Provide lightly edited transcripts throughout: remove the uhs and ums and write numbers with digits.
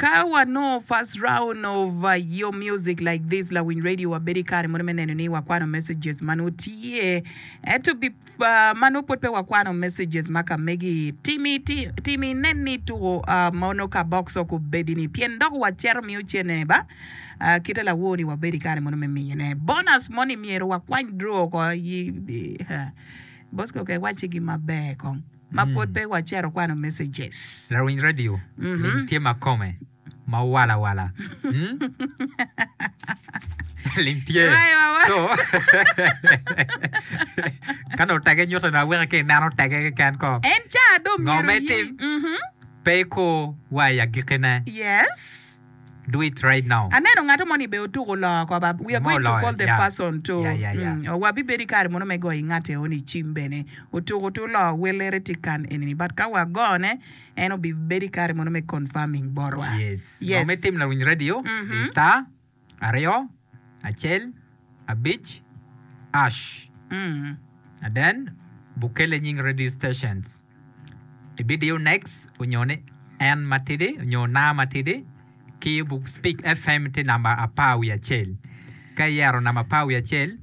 Ka wanongo first round of your music like this lawiny radio wabedo i kare mono me neno ni wakwano messages ma nongo tye ento ma nongo pwod pe wakwano messages ma ka megi timi timi inen ni tuko mono ka box ok obedi ni pien dok waceto miyo cene ba kite lawor ni wabedo i kare mono me miyone bonus moni myero wakwany draw oko Bosco ke wacci gi maber kong. ma pwod pe wacito kwano messages. Lawiny radio lim tye ma kome ma wala wala lim tye so ka nongo tege nyuto ni aweke ki ineno tege keken ko En ca dong ngo myero ma iye. itim pe ikur wa i agikkine. Yes. Do it right now. Aneno ngato moni be otuko loo ko ba we are Mo going to oloyo, call the yeah. person to Yeah, yeah, yeah. mm, wabibedo i kare mono me goyo ingate eni cim bene otuko tu loo welere tye kan enini but ka wagone en obibedo i kare mono me confirming botwa. Yes. Yes. Ngo me tim lawiny radio di star aryo acel abic ash Mm. and then bukele nying radio stations ibidiyo next onyo ni en matidi onyo na matidi ki buk Speak FM tye namba apar wiye acel. Ka iyero namba apar wiye acel,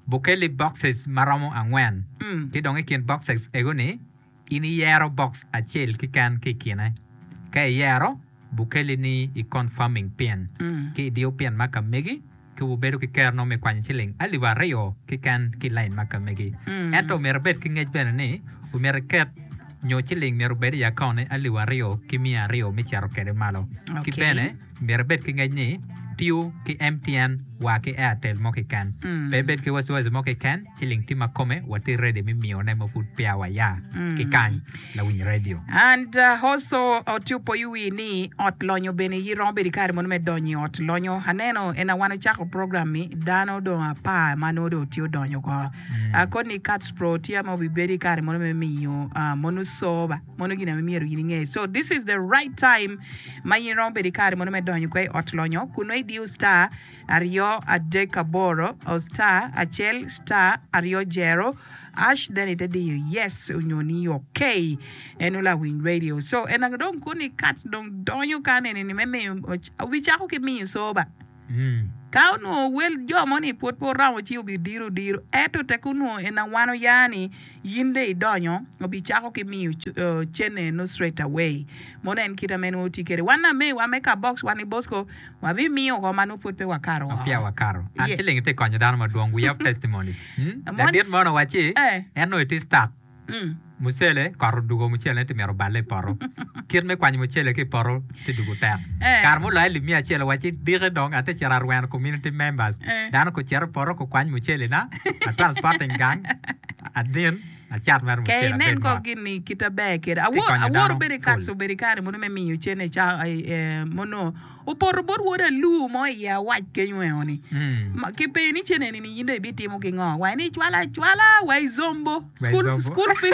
bukelli boxes ma romo angwen. Ki dong i kin boxes ego-ni, in iyero box acel keken ki i kine. Ka iyero, bukelli ni i confirming pin. Ki idiyo pin ma ka megi, ki wubedo ki kerno me kwanyo ciling alip aryo keken ki i lain ma ka megi. Ento omyero ibed ki ngec bene ni omyero iket nyo ciling myero obed i akaunti alip aryo ki miya aryo me cito kwede malo. Ki Okay. bene myero ibed ki ngec ni tiyo ki MTN wa ki Airtel mo keken. Pe ibed ki wasiwasi mo keken, ciling tye ma kome watye ready me miyone ma pud peya waya ki kany. Lawiny radio. And also oti opoyo wi ni ot lonyo bene iyi romo bedo ikare mono me donyo i ot lonyo. Aneno ena wan ocako program mi dano dong apar ma nongo dong tye odonyo oko. Koni Cats Pro tye ma obi bedo ikare mono me miyo mono soba mono gin ame myero in inge. So this is the right time ma in romo bedo ikare mono me donyo kwe i ot lonyo kun nongo idiyo star aryo adek aboro star acel star aryo jero ash then ite diyo yes onyo ni ok eno lawiny radio so en dong koni kat dong donyo kan eni ni me miyo obicako ki miyo soba ka onongo wel jo moni pwod pe oromo ci obidiro diro ento tek onongo en awano ya ni yin dong idonyo obicako ki miyo cene eno straight away mono en kite ma en tye kwede wan amewa me ka box wan i Bosco Wabimiyo oko ma nongo pwod pe wakato woko. Peya wakato. An Ye. ci ling itye konyo dano madwong. We have testimonies. Hmm? Mon- Ladit mo owacci Eh. en nongo etye stuck. Mm. Mucele kot odugo mucele tye mito balle i poto. Kit me kwanyo mucele ki i poto tye dugo tek. Eh. Kare muloyo alip miya acel owacci diki dong atye cito arweno community members. Eh. Dano kucito i poto kukwany mucele na, a transporting gang, adin, acat mere Ke mucele inen abed ko mot. gin ni kite ber kede. Tye Awor, konyo awor dano bedo i kac pol. obedo i kare mono me miyo cene ca, eh, mono Opoto bot wod alur mo i awac kenyo eo ni, Ma ki penyo ni cen eni ni in dong ibitimo ki ngo? Wa ni icwalo acwala wa i zombo. School, school fees,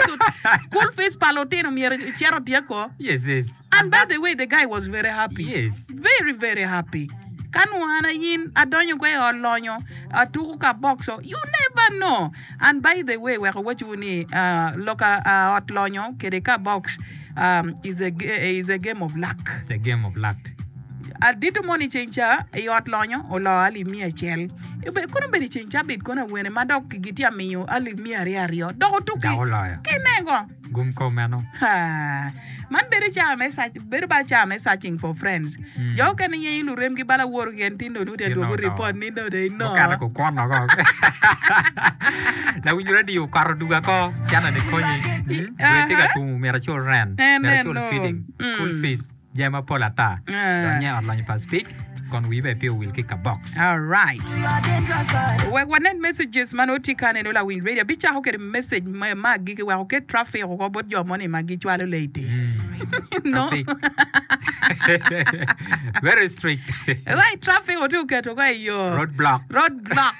school fees pa lutino myero icit otyek ko. Yes, yes. And by the way, the guy was very happy. Yes. Very, very happy. Ka nongo an ayin adonyo kwa i ot lonyo, atuko ka boxo, you never know. And by the way, wek awacciwu ni, uh, loka uh, ot lonyo kede ka box um, is a, is a game of luck. It's a game of luck. Adito moni ceng ca i ot lonyo oloo alip miya acel. Kono obedo i ceng cabit kono awene ma dok gitye amiyo alip miya aryo aryo dok otuki. Dok oloyo. Ki nego. Gum kom meno. Ha. Man bedo cawa me search, bedo bal cawa me searching for friends. Jo okene yenyo luremgi bal aworo keken tin dong nongo tye adwogo report ni dong they know. Mukene kukwono ko. Lawiny radio okato duga ko cana ni konyi. Hmm? Dwe tye ka tum myero acul rent, En myero acul eno. feeding, school Mm. fees. Jami mapol ata. Ah. Dong nye ot lonyo pa Speke, kon wii bene pe owil ki kabox. Alright. Wek wanen messages ma nongo tye ka neno lawiny radio. Abicako kwede message ma ma agikki wek oket traffic oko bot jo moni ma gicwalo late. No. Traffic. Very strict. Right, traffic otye oketo ko i yo. Road block. Road block.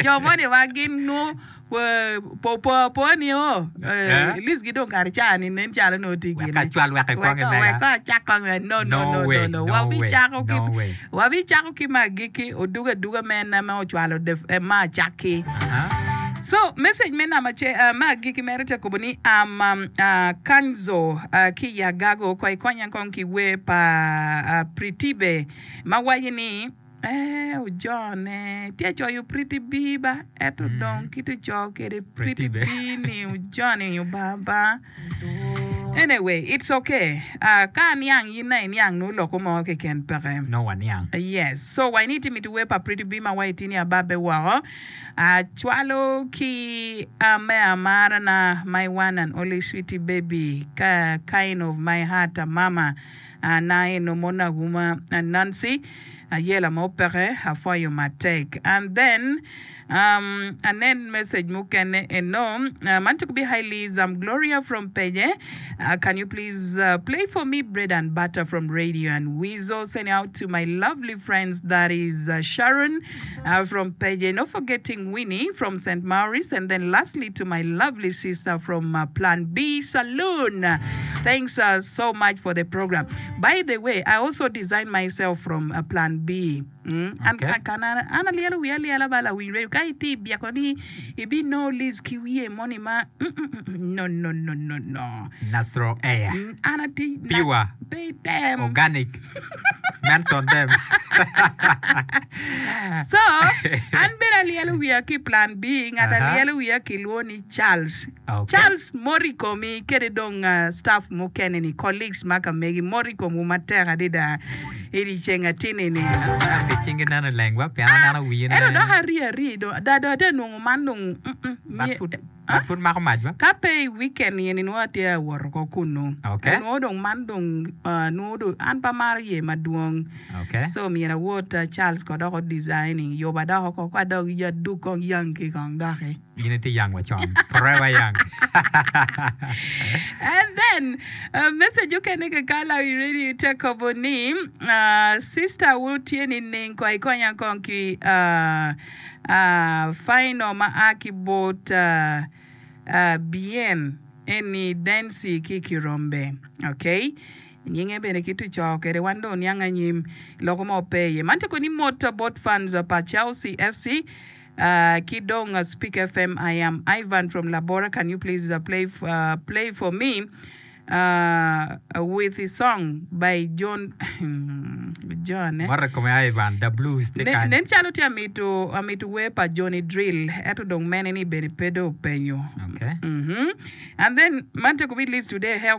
Jo moni ma gin nongo Po apoa ni o, Eh? list gi dong kare ca ni nen calo nongo tye Wek gine. acwal wek ekwong Wek i mega. wek acak kong i no no No no way, no no. no Wabi way, cako ki no way. wabi cako ki ma agikki odugo aduga me en ma ocwalo the ma acakki. Aha. So message me namba ce me agikki mere tye kobo ni am Kanzo ki i Agago ko ikonya kong ki wer pa Pritibe ma waco ni ee ojone tye coyo Priti B ba ento dong kit oco kede Priti B ni ojoni obaba. Anyway, it's okay. Uh, ka aniang in na iniang nongo loko mo keken peke. Nongo waniang. Yes. So wa ini timi wer pa Pretty B ma wa itini ababbe woko. Uh, cwalo ki uh, me amara na my one and only sweetie baby ka, kind of my heart uh, mama uh, na eno mona guma uh, Nancy ayela mo peke apwoyo matek. And then Um, anen message mukene eno. Uh, man tukubi hi Liz, I'm Gloria from Penye. Uh, can you please uh, play for me Bread and Butter from Radio and Weasel? Send out to my lovely friends, that is uh, Sharon uh, from Penye, not forgetting Winnie from St. Maurice, and then lastly to my lovely sister from uh, Plan B Saloon. Thanks uh, so much for the program. By the way, I also designed myself from uh, Plan B. An an alyelo wiya alyela ba lawiny radio ka itye i byeko ni ibinongo Liz ki wiye moni ma no no no no no. Natural air. An atye Pure. Pe item. Organic. Manson them. So an bene alyelo wiya ki plan B ngat alyelo wiya kilwongo ni Charles. Charles mot i komi kede dong staff mukene ni colleagues ma ka megi mot i komwu matek adada i dyeceng atini ni. Ento cingi neno leng wa pien aneno wiye ne. Ento dok ari ari do da do ate nongo man dong But pud but pud mako mac ba. Ka pe i weekend eni nongo atye awoto ko kunu. Okay. Nongo dong man dong nongo dong an pe amaro ye madwong. Okay. So myero awot Charles ko dok o designing yuba dok oko ko adok adug kong yanki kong doki. In itye young wa con. Forever young. And then uh, message okene ke kala i radio te kobo ni uh, sister wu tye ni ning ko ikonya kong ki uh, uh, final ma a ki bot uh, uh, bien eni Dancy ki Kirombe. Okay. Nyinge bene ki tuco kede wan dong niang anyim loko mo pe iye. Man tye ko ni mot bot fans pa Chelsea FC Ki dong Speak FM I am Ivan from Labora can you please play play for me with a song by John John eh? Moto kome Ivan the blues tye kany. Nen calo tye amito amito wer pa Johnny Drill ento dong mene ni bene pe dong openyo. Okay. Mm -hmm. And then man tye kubi list today help.